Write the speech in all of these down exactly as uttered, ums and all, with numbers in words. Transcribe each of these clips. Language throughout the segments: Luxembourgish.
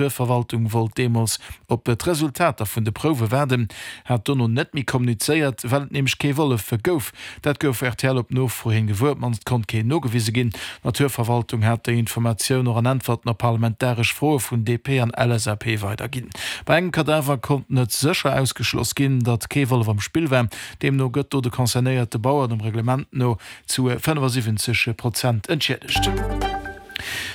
D'Naturverwaltung wollt deemools op d'Resultater vun de Prouwe waarden, hat dono net méi kommunizéiert, well et nämlech kee Wollef gouf. Dat gouf rtl op Nofro hin gewuer, op d'mannst konnt keen nogewise ginn. D'Naturverwaltung hat déi Informatioun och an Äntwerten op parlamentaresch Froe vun D P an L S A P weiderginn. Bei engem Kadaver konnt net sécher ausgeschloss ginn, datt kee Wollef am Spill war. Deemno gëtt do de concernéierte Bauer dem Reglement no zu fënnefasiwwenzeg Prozent entschiedegt.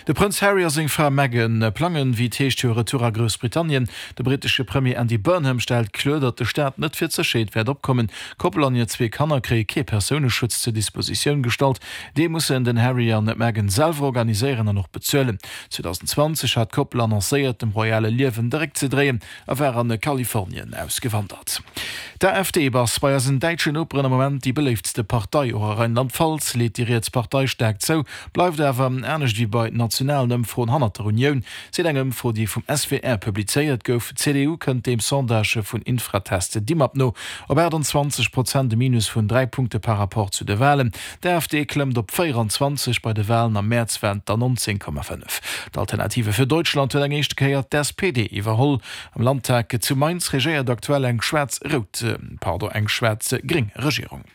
De Prënz Harry a seng Fra Meghan plangen, wéi et heescht, hire Retour a Groussbritannien. De brittesche Premier Andy Burnham stellt kloer, datt de Staat net fir d'Sécherheet wäert opkommen. D'Koppel an hir zwee Kanner kréie kee Persouneschutz zur Dispositioun gestallt. Dee mussen den Harry an d'Meghan selwer organiséieren an och bezuelen. zweedausendenzwanzeg hat d'Koppel annoncéiert, dem royale Liewen de Réck ze dréien a war an Kalifornien ausgewandert. D'A F D ass bei eisen däitschen Noperen am Moment déi beléiftste Partei. Och a Rheinland-Pfalz leet déi riets Partei staark zou, bleift awer anescht wéi bei nationalen Ëmfroen hannert der Unioun, seet eng Ëmfro, déi vum S W R publizéiert gouf. D'C D U kënnt dem Sondage vun Infratest Dimap no op aachtanzwanzeg Prozent, e Minus vun dräi Punkte par rapport zu de Walen. D'A F D klëmmt op véierenzwanzeg, bei de Walen am Mäerz waren et der nonzéng Komma fënnef. D'Alternative für Deutschland huet eng éischte Kéier d'S P D iwwerholl. Am Landtag zu Mainz regéiert aktuell eng schwaarz-rout, pardon, eng schwaarz-gréng Regierung.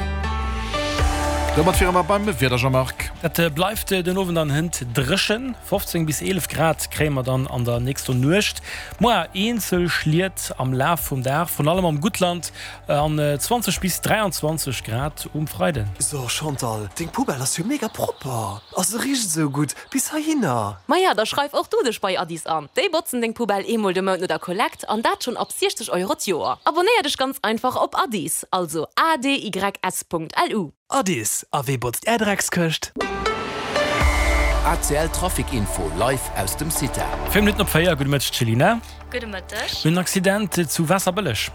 Domat wiere mer beim Wieder, Jean-Marc. Dat bleift den Owend an hënt dréchen. fofzéng bis eelef Grad kréie mer dann an der nächster Nuecht. Muer eenzel Schliet am Laf vum Dag, virun allem am Guttland, an zwanzeg bis dräianzwanzeg Grad um Freiden. So Chantal, deng Poubelle ass jo mega propper. A se richt esou gutt bis heihinner. Maja, da schreif och du dech bei Adys an. Déi botzen deng Poubelle eemol de Mount no der Kollekt an dat schonn ab siechzeg Euro d'Joer. Abonnéier dech ganz einfach op Adys, also A D Y S Punkt L U. Adys, a wee botzt är Dreckskëscht? A C L Trafic Info live aus dem CITA. Véier Minutten op véier, gudde Mëtteg Céline. Gudde Mëtteg. En Accident zu Waasserbëlleg.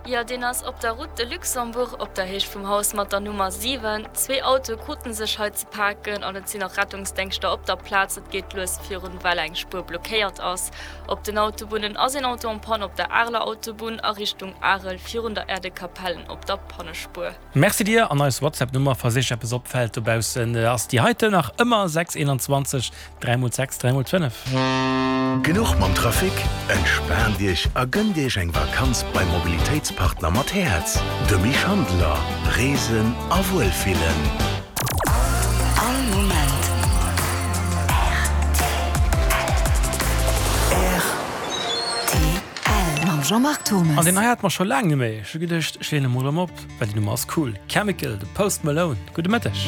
Jo, deen ass op der Route de Luxembourg op der Héicht vum Haus mat der Nummer siwen. Zwee Autoe krute sech hei ze paken an et sinn och Rettungsdéngschter op der Plaz. Et geet lues virun, well eng Spuer blockéiert ass. Op den Autobunnen ass een Auto en panne op der Areler Autobunn a Richtung Arel virun der Aire de Capellen op der Pannespuer. Merci dir. An eis WhatsApp-Nummer, falls iech eppes opfält dobaussen, ass déi heiten nach ëmmer, sechs eenanzwanzeg dräi mol sechs dräi mol fënnef. Genuch mam Trafic? Entspaant Iech a gënnt Iech eng Vakanz beim Mobilitéitspartner mat Häerz. De Schandler. Reesen a Wuelfillen. All Moment. R T L. Mam Jean-Marc Thomas. An deen hei hate mer scho laang net méi. Ech hu geduecht, ech leeën e mol erëm op, well déi Nummer ass cool. Chemical, de Post Malone. Gudde Mëtteg.